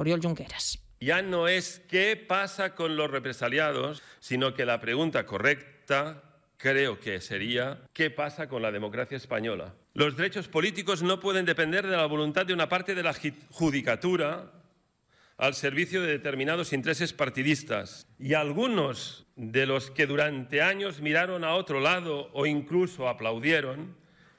Oriol Junqueras. Ya no es qué pasa con los represaliados, sino que la pregunta correcta creo que sería ¿qué pasa con la democracia española? Los derechos políticos no pueden depender de la voluntad de una parte de la judicatura al servicio de determinados intereses partidistas. Y algunos de los que durante años miraron a otro lado o incluso aplaudieron,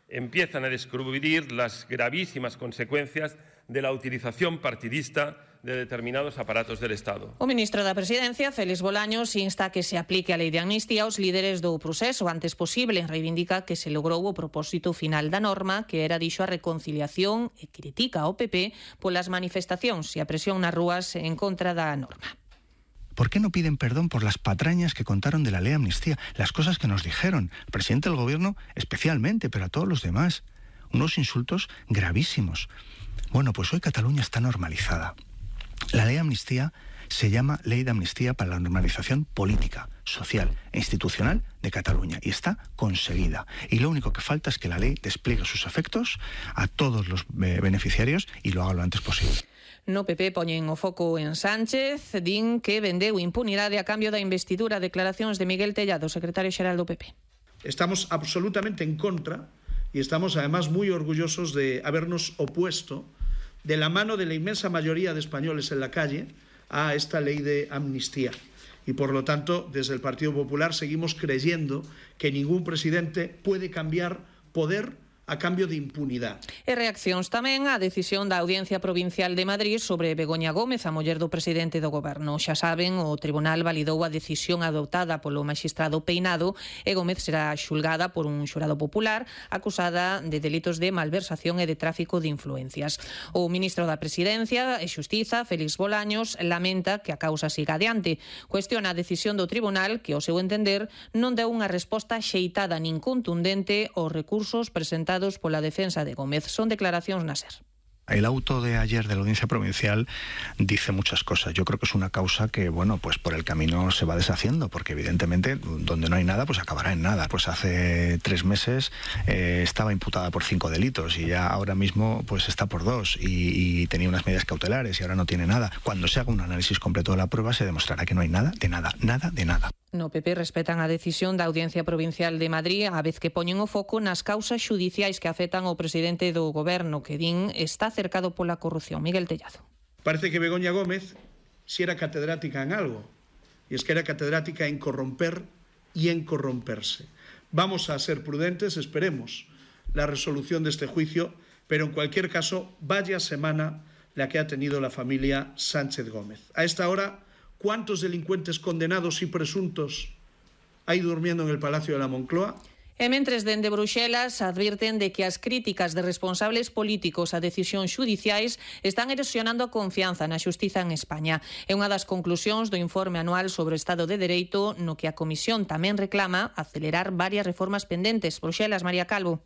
empiezan a descubrir las gravísimas consecuencias de la utilización partidista de determinados aparatos del Estado. O ministro da Presidencia, Félix Bolaños, insta a que se aplique a lei de amnistía aos líderes do proceso o antes posible. Reivindica que se logrou o propósito final da norma, que era, dixo, a reconciliación, e critica ao PP polas manifestacións e a presión nas rúas en contra da norma. ¿Por qué no piden perdón por las patrañas que contaron de la ley de amnistía? Las cosas que nos dijeron, el presidente del gobierno especialmente, pero a todos los demás. Unos insultos gravísimos. Bueno, pues hoy Cataluña está normalizada. La ley de amnistía se llama Ley de Amnistía para la Normalización Política, Social e Institucional de Cataluña y está conseguida. Y lo único que falta es que la ley despliegue sus efectos a todos los beneficiarios y lo haga lo antes posible. No PP poñen o foco en Sánchez, din que vendeu impunidade a cambio da investidura. Declaracións de Miguel Tellado, secretario xeral do PP. Estamos absolutamente en contra y estamos además muy orgullosos de habernos opuesto de la mano de la inmensa mayoría de españoles en la calle a esta ley de amnistía. Y por lo tanto, desde el Partido Popular seguimos creyendo que ningún presidente puede cambiar poder a cambio de impunidade. E reaccións tamén á decisión da Audiencia Provincial de Madrid sobre Begoña Gómez, a muller do presidente do goberno. Xa saben, o tribunal validou a decisión adoptada polo magistrado Peinado e Gómez será xulgada por un xurado popular acusada de delitos de malversación e de tráfico de influencias. O ministro da Presidencia e Xustiza, Félix Bolaños, lamenta que a causa siga adiante. Cuestiona a decisión do tribunal que, ao seu entender, non deu unha resposta xeitada nin contundente aos recursos presentados pola defensa de Gómez. Son declaracións na SER. El auto de ayer de la Audiencia Provincial dice muchas cosas. Yo creo que es una causa que, bueno, pues por el camino se va deshaciendo, porque evidentemente donde no hay nada, pues acabará en nada. Pues hace 3 meses estaba imputada por 5 delitos y ya ahora mismo pues está por 2 y tenía unas medidas cautelares y ahora no tiene nada. Cuando se haga un análisis completo de la prueba se demostrará que no hay nada, de nada, nada, de nada. No PP respetan a decisión da Audiencia Provincial de Madrid, a vez que poñen o foco nas causas xudiciais que afectan ao presidente do goberno, que din está cercado pola corrupción. Miguel Tellado. Parece que Begoña Gómez si era catedrática en algo, y es que era catedrática en corromper y en corromperse. Vamos a ser prudentes, esperemos la resolución de este juicio, pero en cualquier caso, vaya semana la que ha tenido la familia Sánchez Gómez. A esta hora, ¿cuántos delincuentes condenados y presuntos hay durmiendo en el Palacio de la Moncloa? E mentres dende Bruxelas advirten de que as críticas de responsables políticos a decisións xudiciais están erosionando a confianza na xustiza en España. É unha das conclusións do informe anual sobre o Estado de Dereito, no que a Comisión tamén reclama acelerar varias reformas pendentes. Bruxelas, María Calvo.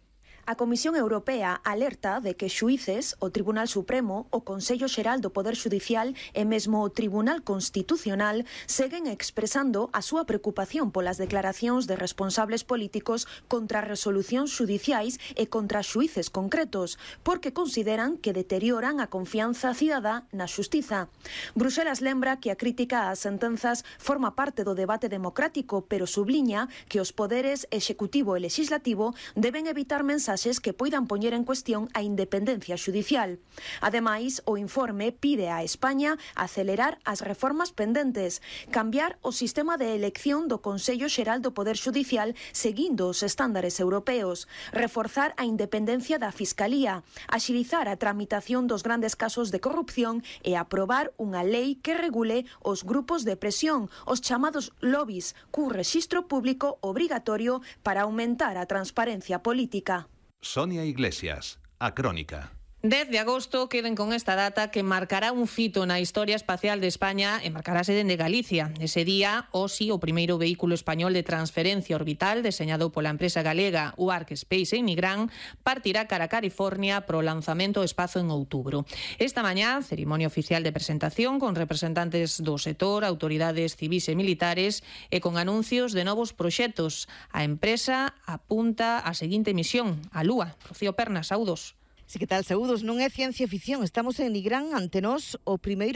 A Comisión Europea alerta de que xuíces, o Tribunal Supremo, o Consello Xeral do Poder Xudicial e mesmo o Tribunal Constitucional seguen expresando a súa preocupación polas declaracións de responsables políticos contra resolucións xudiciais e contra xuíces concretos, porque consideran que deterioran a confianza cidadá na xustiza. Bruxelas lembra que a crítica ás sentenzas forma parte do debate democrático, pero subliña que os poderes executivo e legislativo deben evitar mensaxes que poidan poñer en cuestión a independencia xudicial. Ademais, o informe pide a España acelerar as reformas pendentes, cambiar o sistema de elección do Consello Xeral do Poder Xudicial seguindo os estándares europeos, reforzar a independencia da Fiscalía, axilizar a tramitación dos grandes casos de corrupción e aprobar unha lei que regule os grupos de presión, os chamados lobbies, cun rexistro público obrigatorio para aumentar a transparencia política. Sonia Iglesias, A Crónica. 10 de agosto, queden con esta data que marcará un fito na historia espacial de España e marcarase dende Galicia. Ese día, OSI, o primeiro vehículo español de transferencia orbital deseñado pola empresa galega UARC Space en Nigrán, partirá cara a California pro lanzamento ao espazo en outubro. Esta mañá, cerimonia oficial de presentación con representantes do sector, autoridades civis e militares e con anuncios de novos proxectos. A empresa apunta a seguinte misión, a Lúa. Rocío Pernas, saúdos. Sí, que tal, saúdos, non é ciencia ficción, estamos en Nigrán ante nós o primeiro